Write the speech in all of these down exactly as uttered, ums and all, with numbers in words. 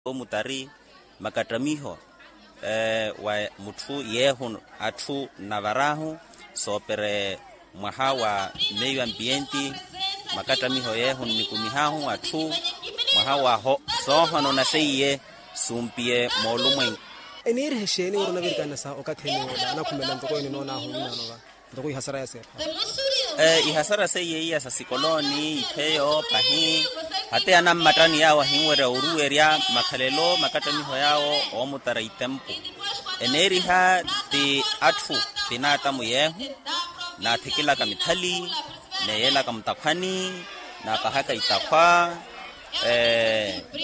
Omutari makattamiho wa mutthu yeehu atthu nnavar'ahu soopere mwaha wa meio ampienti. Makattamiho yeehu nnikumih'ahu atthu mwaha wa soohonona seiye sumpiye moolumwenku. Eniiriha exeeni wira onavirikana sa okathi eniyoola anakhumela ntoko eninoon'ahu nnano va ntoko ihasara ya seepha. Ihasara seiye iya sa sikolooni ipheyo pahi hata anammattani yaawo ahinwerya oruwerya makhalelo makattamiho yaawo oomutara itempu. Eneeriha ti atthu ti naatamu yeehu naathikilaka mithali neeyelaka mutakhwani naapahaka itakhwa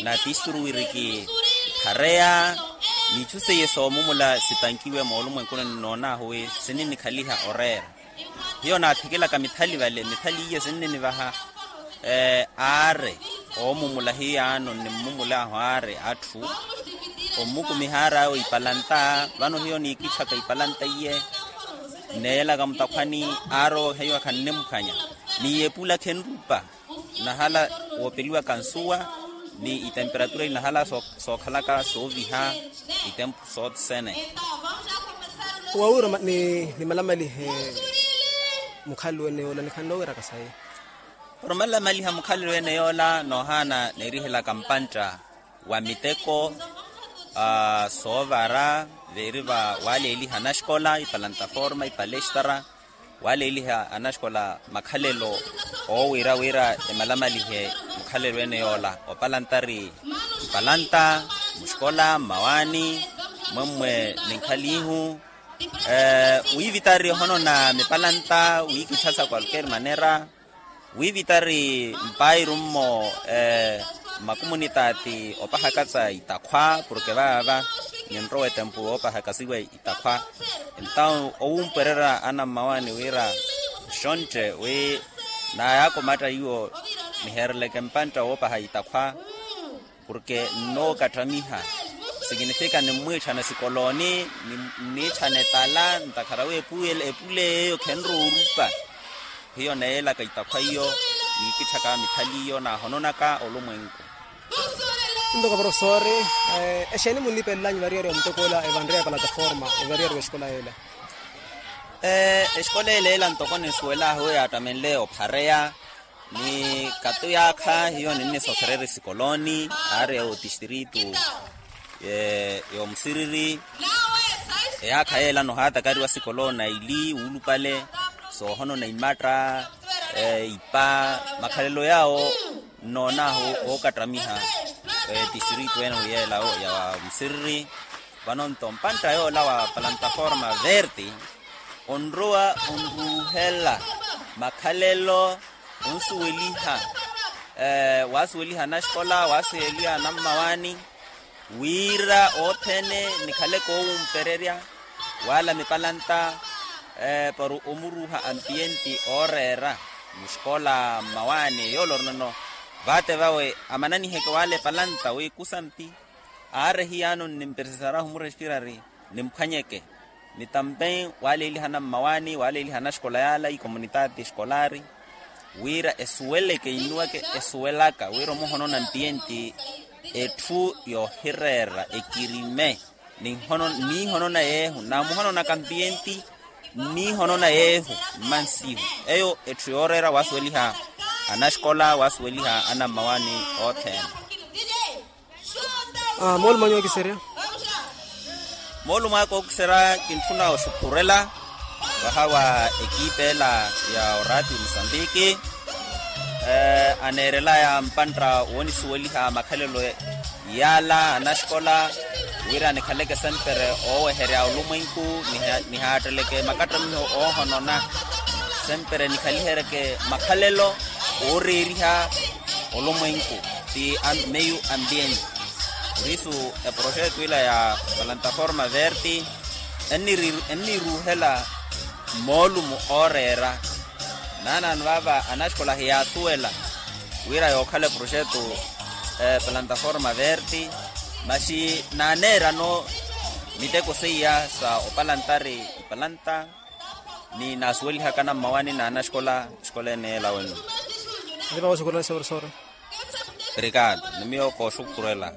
na tisturu wiriki phareya n'ichu seiye soomumula sipankiwe moolumwenkuni nnoon'ahu wi sininikhaliha oreera. Hiyo naathikilaka mithali vale mithali iyo sinninivaha aari oomumula hiyaano nnimmumul'ahu aari atthu ommukumiha aari awo ipalanta vano hiyo niikitthaka ipalanta iye nneeyelaka mutakhwani aari owo hiyo khannimphwanya niiyepula khenrupa nnahala woopeliwaka nsuwa ni itemperatura inahala sookhalaka sooviha itempu sothene. Wawira nimalamalihe mukhalelo ene yoola nikhanle owiraka sayi. Para omalamaliha mukhalelo ene yoola noohaana neerihelaka mpantta wa miteko soovara veeri va waleeliha anaxikola ipalataforma ipalestara waleeliha anaxikola makhalelo oowira wira emalamalihe mukhalelo ene yoola opalantari mpalanta muxikola mmawaani mmwemmwe ninkhalihu wiivitari ohonona mipalanta wiikitthasa kwalker manera wiivitari mpairu mmo mmakumunitaati opahakatsa itakhwa porke vaava ninrowa etempu woopahakasiwa itakhwa entawu owumpwererya anammawaani wira nxontte wi naayaakomatta iwo niheereleke mpantta woopaha itakhwa porke nnookattamiha sikinifika nimmwiitthana sikolooni nniitthana etala ntakhara wi epule eyo khenrowa orupa hiyo neeyelaka itakhwa iyo niikitthaka mithali iyo naahononaka olumwenku. Nto ka profesori exeeni munniipelelanyu variyari wa mutekoola evanreya epalataforma evariyari wa exikola yeela? Exikola ela ela ntoko ninsuwel'ahu yaattamenle ophareya ni kato yaakha hiyo ninnisosererya esikolooni aari otistritu y'omusiriri eyaakha yeela nohaatakariwa sikolooni aili wuulupale soohonona imatta ipa makhalelo yaawo nnoon'ahu ookattamiha tistritu ene wi yeela ya musiriri vano nto mpantta yoola wa palantaforma verti onrowa onruuhela makhalelo onsuweliha waasuweliha anaxikola waasuweliha anammawaani wira othene nikhale koowumpererya waala mipalanta para omuruuha ampiyenti ooreera muxikola mmawaani yoole orinono vaate vawe amananiheke waala epalanta wi kusampi aare hiyaano nnimperesesarahu murespirari nimphwanyeke ni tampen waaleeliha anammawaani waaleeliha anaxikola yaala ikomunitaati exikolari wira esuweleke innuweke esuwelaka wira omuhonona mpiyenti etthu yoohireera ekirime niihonona yeehu naamuhononaka mpiyenti nniihonona yeehu mmansihu eyo etthu yooreera waasuweliha anaxikola waasuweliha anammawaani othene. Moolumo anyu ookiserya moolumo aka ookiserya kintthuna oxukhurela vaha wa ekipa ela ya orati musambiki aneerelaya mpantta woonisuweliha makhalelo yaala anaxikola wira nikhaleke sempre ooweherya olumwenku nihaatteleke makattamiho oohonona sempre nikhaliheryeke makhalelo ooreeriha olumwenku ti meio ambiente purisu eproxeto ila ya palantaforma verti enniruuhela moolumo ooreera naanaano vaava anaxikola hiyaasuwela wira yookhala eproxeto palantaforma verti maxi naaneerano miteko seiya sa opalantari ipalanta ni naasuwelihaka nammawani na anaxikola exikola ene ela wenu. Nipaka oxukhurela sori sori. Obrigado ni miyo kooxukhurela.